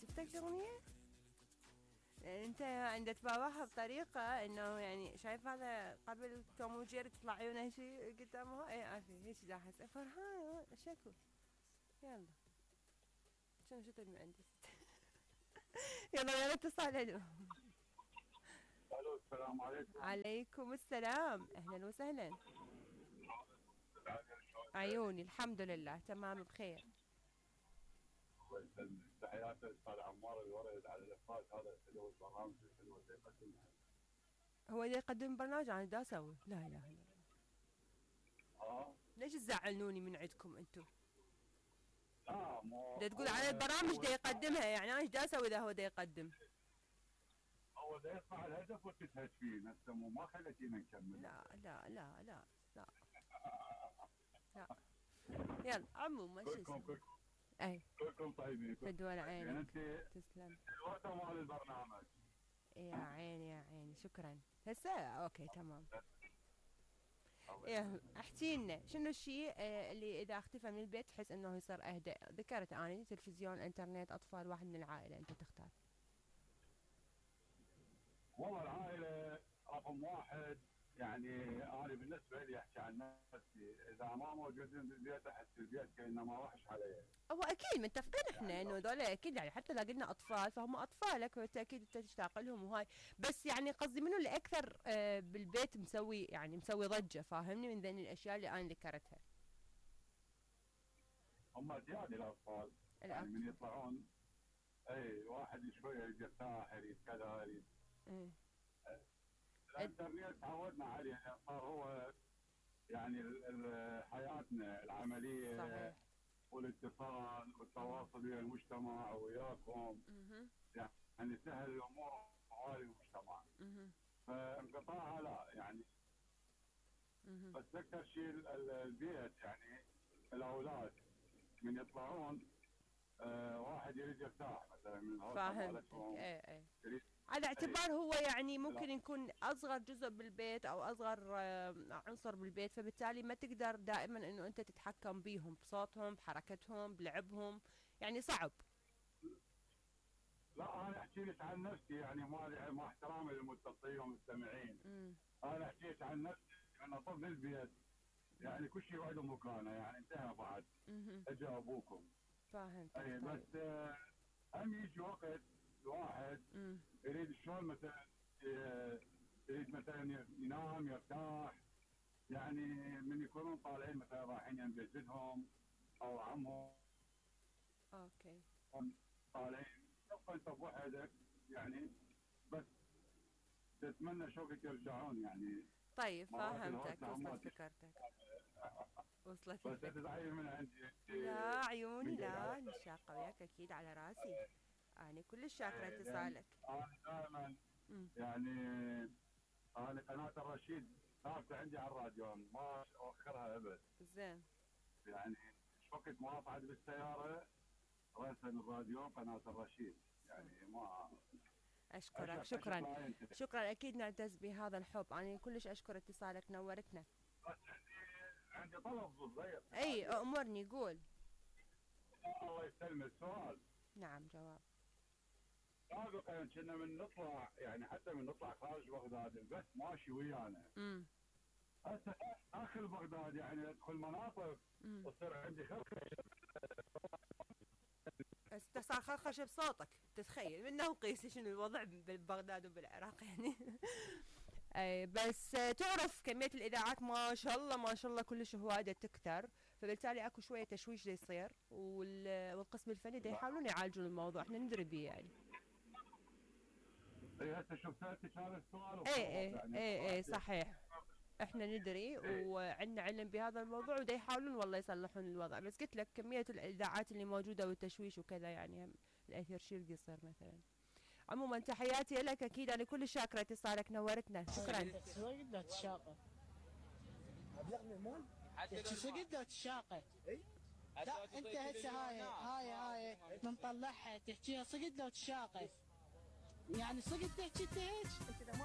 عجبتك الاغنيه؟ لان انت عند تباوعها بطريقه انه يعني شايف هذا قبل توم وجيري تطلع عيونه شي قدامه اي عافيه هيك داحس فرحان شكو يلا شنو شو المهندس يلا اتصال الو. الو السلام عليكم. عليكم السلام اهلا وسهلا. عيوني الحمد لله تمام بخير. الله يسلمك. تحياتي استاذ عمار الورد على الافات هذا الحلو البرامج الحلوه اللي يقدمها. هو اللي يقدم برنامج انا دا اسوي لا اله الا الله. ليش تزعلوني من عندكم انتم؟ لا مو دا تقول على البرامج دا يقدمها يعني انا ايش دا اسوي اذا هو دا يقدم؟ هو دا يقطع الهدف وتزهد فيه نفسه ما خليتينا نكمل. لا لا لا لا لا لا يلا عموما شو اسمه اي كلكم طيبين فدوى عينك يعني انت تسلم الوقت مال البرنامج. يا عيني يا عيني شكرا هسه اوكي تمام. ايه احكي لنا شنو الشيء اللي اذا اختفى من البيت تحس انه يصير اهدى؟ ذكرت اني تلفزيون انترنت اطفال واحد من العائله انت تختار. والله العائله رقم واحد يعني انا بالنسبه لي احكي عن نفسي اذا ما موجودين بالبيت احس البيت كانه ما وحش علي. هو اكيد متفقين احنا يعني انه هذول اكيد يعني حتى لو قلنا اطفال فهم اطفالك بالتاكيد انت تشتاق لهم وهاي بس يعني قصدي منو اللي اكثر بالبيت مسوي يعني مسوي ضجه فاهمني من ذي الاشياء اللي انا ذكرتها. هم زياده الاطفال يعني من يطلعون اي واحد شويه يريد يرتاح يريد كذا يريد الانترنت تعودنا عليه يعني صار هو يعني حياتنا العمليه صحيح. والاتصال والتواصل ويا المجتمع وياكم يعني سهل الامور حوالي المجتمع فانقطاعها لا يعني بس اكثر شيء البيت يعني الاولاد من يطلعون واحد يريد يرتاح مثلا من الغرفه مالتهم ايه على اعتبار هو يعني ممكن يكون اصغر جزء بالبيت او اصغر عنصر بالبيت فبالتالي ما تقدر دائما انه انت تتحكم بيهم بصوتهم بحركتهم بلعبهم يعني صعب. لا انا احكي لك عن نفسي يعني مع احترامي للمتصلين والمستمعين انا احكي لك عن نفسي انا طفل البيت يعني كل شيء وعده مكانه يعني انتهى بعد اجى ابوكم فاهمت. اي بس هم يجي وقت الواحد يريد شلون مثلا يريد مثلا ينام يرتاح يعني من يكونون طالعين مثلا رايحين يم جدهم او عمهم اوكي طالعين تبقى انت بوحدك يعني بس تتمنى شوفك يرجعون يعني. طيب فهمتك وصلت فكرتك وصلت بس تزعلي من عندي لا عيوني لا نشاقة وياك اكيد على راسي انا كلش شاكره اتصالك. انا دائما يعني انا قناه الرشيد ثابته عندي على الراديو ما اوخرها ابد. زين يعني وقت ما اصعد بالسياره راسا الراديو قناه الرشيد يعني ما اشكرك شكرا اكيد نعتز بهذا الحب انا كلش اشكر اتصالك نورتنا. بس عندي طلب صغير. اي امرني قول. الله يسلمك سؤال. نعم جواب. سابقا كنا من نطلع يعني حتى من نطلع خارج بغداد البث ماشي ويانا. هسه داخل بغداد يعني ادخل مناطق وتصير عندي خرخشه. صار خرخشه بصوتك تتخيل منه وقيس شنو الوضع ببغداد وبالعراق يعني. اي بس تعرف كميه الاذاعات ما شاء الله ما شاء الله كلش هوايه تكثر فبالتالي اكو شويه تشويش دا يصير والقسم الفني دا يحاولون يعالجون الموضوع احنا ندري بيه يعني. اي هسه شوف سالتك هذا السؤال اي صحيح احنا ندري وعندنا علم بهذا الموضوع ودا يحاولون والله يصلحون الوضع بس قلت لك كميه الاذاعات اللي موجوده والتشويش وكذا يعني الاثير شيل يصير مثلا. عموما تحياتي لك اكيد انا كل شاكره اتصالك نورتنا شكرا. صقدة الشاقة ابلغني المول صقدة الشاقة اي انت هسه هاي بنطلعها تحكيها صقدة الشاقة يعني صقدة تحكي انت هيك انت ما